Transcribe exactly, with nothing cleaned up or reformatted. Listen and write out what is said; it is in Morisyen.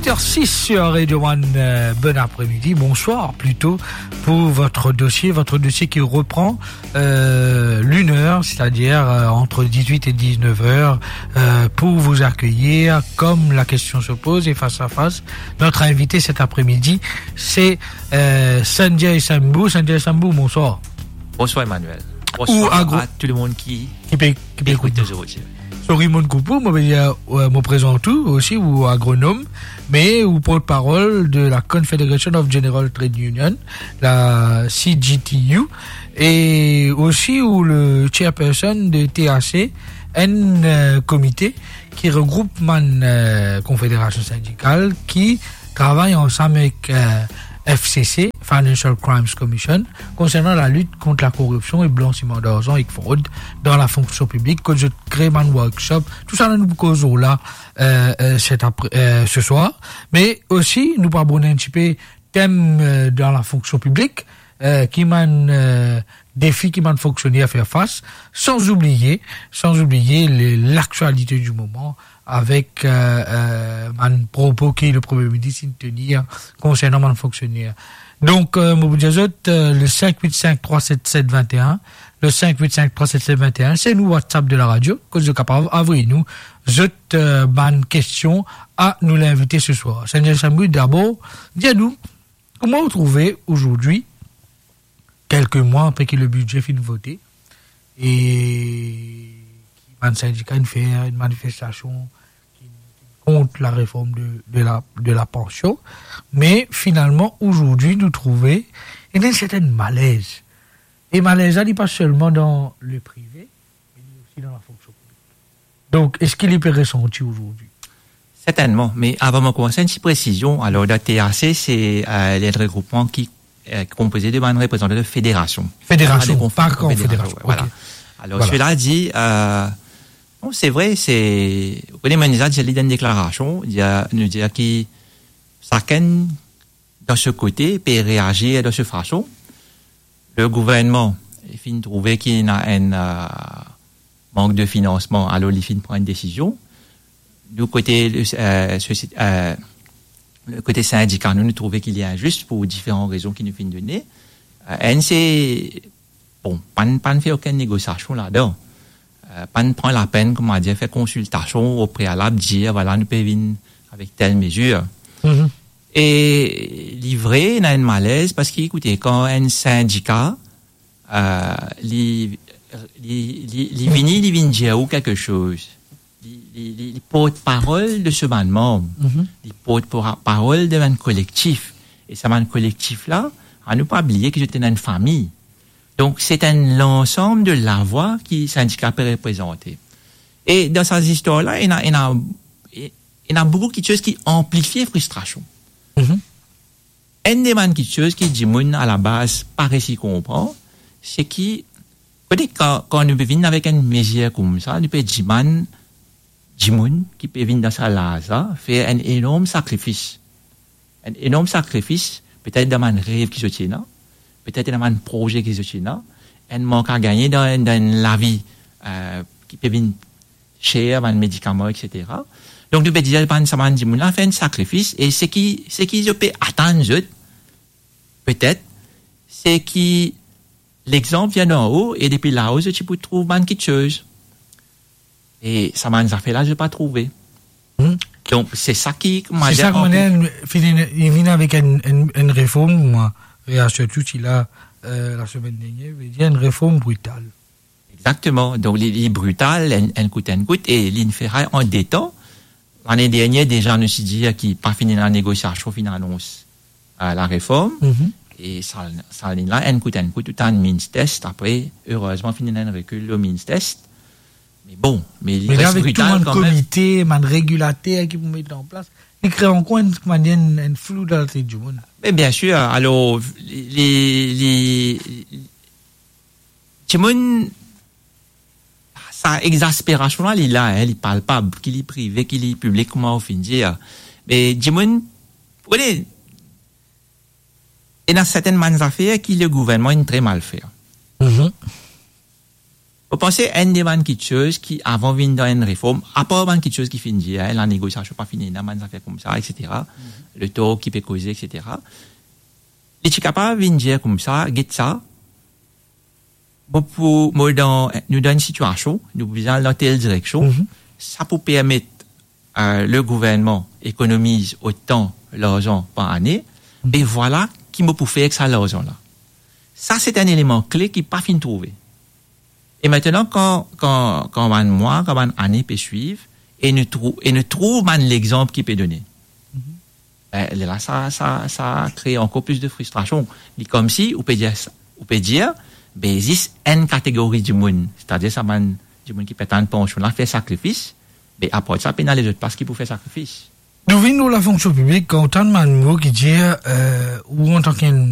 Heure six sur Radio One, euh, bon après-midi, bonsoir plutôt, pour votre dossier, votre dossier qui reprend, euh, l'une heure, c'est-à-dire, euh, entre dix-huit et dix-neuf heures, euh, pour vous accueillir, comme la question se pose, et face à face. Notre invité cet après-midi, c'est, euh, Sanjay Sambou. Sanjay Sambou, bonsoir. Bonsoir, Emmanuel. Bonsoir à tout le monde qui écoute nous aujourd'hui. Sorry, mo koup ou, mo pe dir, euh, mo prezant ou osi, ou agronom, me ou portparol de la Confederation of General Trade Union, la C G T U, e osi ou le chairperson de T A C, enn, euh, komite ki regroup bann, euh, konfederasion sindikal ki travay ansam avek, euh, F C C, Financial Crimes Commission, konsernan lalit kont lakoripsion e blansiman darzan ek frod dan lafonksion piblik, kot zot kre bann workshop, tousala nou pou koz lor la, euh, euh, set apre, euh, se swar. Me osi, nou pou abord enn tipe tem, euh, dan lafonksion piblik, euh, ki bann, euh, defi ki bann fonksioner fer fas, san oubliye, san oubliye le, laktialite di moman, avek, euh, euh, bann propo ki le Premie Minis inn tenir konsernan bann fonksioner. Donk, euh, mo pou dir zot, euh, le cinq huit cinq trois sept sept vingt et un, le cinq huit cinq trois sept sept vingt et un, se nou WhatsApp de la radio, kot zot kapav avoy nou zot, euh, bann kestion a nou linvite se swar. Sanjay Sambou, dabor, dir nou, kouma ou trouve azordi, kelke mwa apre ki le bidze finn vote, e ki bann sindika inn fer enn manifestasion ki, ki kont lareform de, de la, de lapansion. Me finalman, azordi, nou trouve ena enn sertenn malez. E malez la, li pa selman dan le prive, me li osi dan lafonksion piblik. Donk, eski li pe resanti azordi? Sertennman, me avan mo koumans, enn ti presizion. Alor, dan T A C, se, euh, le regroupman ki, euh, konpoze de bann reprezantan de federasion. Federasion, pa de konf-, pa konfederasion, konfederasion, voilà. Ok. Alor, sela dir, euh, non, se vre, se, ou kone, mo inn dir li dan enn deklarasion, dir, nou dir ki sakenn dan so kote pe reazir dan so fason. Le gouvernman, li finn trouve ki ena enn, euh, mank de finansman, alor li finn pran enn desizion. Nou kote, euh, sosie-, euh, le kote sindika, nou, nou trouve ki li inzis pou diferan rezon ki nou finn done. Euh, enn se, bon, pa'nn, pa'nn fer okenn negosiasion ladan. Euh, pa'nn pran lapenn, kouma dir, fer konsiltasion o prealab, dir, vwala, nou pe vinn avek tel mezir. Mhm. E li vre, ena enn malez, parski, ekoute, kan enn sindika, euh, li, li, li, li vini, li vinn dir ou kelke soz, li, li, li, li portparol de so bann manm, mhm, li portparol de bann kolektif. E sa bann kolektif la, anou pa bliye ki zot ena enn fami. Donk, se enn lansam de lavwa ki sindika pe reprezante. E dan sa zistwar la, ena, ena, e, ena boukou kitsoz ki anplifie fristrasion. Mhm. Enn de bann kitsoz ki dimoun alabaz pa resi konpran, se ki, kote kan, kan nou pe vinn avek enn mezir koumsa, nou pe dimann dimoun ki pe vinn dan sa laz la fer enn enorm sakrifis. Enn enorm sakrifis, petet dan bann rev ki zot ena, petet dan bann proze ki zot ena, enn mank a gagne dan, dan enn lavi, euh, ki pe vinn ser, bann medikaman, et cetera. Donk, nou pe dir bann, sa bann dimoun la fer enn sakrifis, e seki, seki zot pe atann zot, petet, se ki lexanp vinn anlo, e depi lao, zot ti pou trouv bann kitsoz. E sa bann zafer la, zot pa trouve. Hmm. Donk, se sa ki, kouma dir, kouma dir, fini, li vinn avek enn, enn, enn reform, mwa, reasir tou, ti la, euh, lasemenn dernier, ve dir enn reform brital. Exakteman. Donk, li, li brital, enn, enn kout, enn kout, e li finn fer an de tan. Lane dernier, deza, nou ti dir ki pa finn ena negosiasion, finn anons, euh, lareform. Mhm. E sa, sa la, enn kout, enn kout, ou tann means test. Apre, erezman, finn ena enn rekil lor means test. Me bon, me li res brital kanmem. Me avek tou bann komite, bann regilater ki pou met an plas, li kre ankor enn, kouma dir, enn, enn flou dan latet dimoun. Me biensir, alor, li, li, li, dimoun, sa exasperasion la, li la, hein, li palpab, ki li prive, ki li piblik, kouma ou finn dir. Me dimoun, ou kone, ena sertenn bann zafer ki le gouvernman inn tre mal fer. Mhm. Mo panse enn de bann kiksoz ki avan vinn dan enn reform, apar bann kiksoz ki finn dir, hein, lanegosiasion pa fini, ena bann zafer koumsa, et cetera. Mhm. Le tor ki pe koze, et cetera. Li ti kapav vinn dir koumsa, get sa, mo pou, mo dan, nou dan enn sitiasion, nou bizin al dan tel direksion, Mhm. sa pou permet, euh, le gouvernman ekonomiz otan larzan par ane, Mhm. e vwala ki mo pou fer ek sa larzan la. Sa, se enn eleman kle ki pa finn trouve. E aster, kan, kan, kan bann mwa, kan bann ane pe swiv, e nou trou-, e nou trouv bann lexanp ki pe done. Mhm. Ben, lerla, sa, sa, sa kre ankor plis de fristrasion. Li koumsi, ou pe dir sa, ou pe dir, be, zis enn kategori dimoun, setadir sa bann dimoun ki pe atann pansion la, fer sakrifis, be, apar sa, pena lezot plas ki pou fer sakrifis. Nou vinn lor lafonksion piblik, kan ou tann bann mo ki dir, euh, ou antan ki enn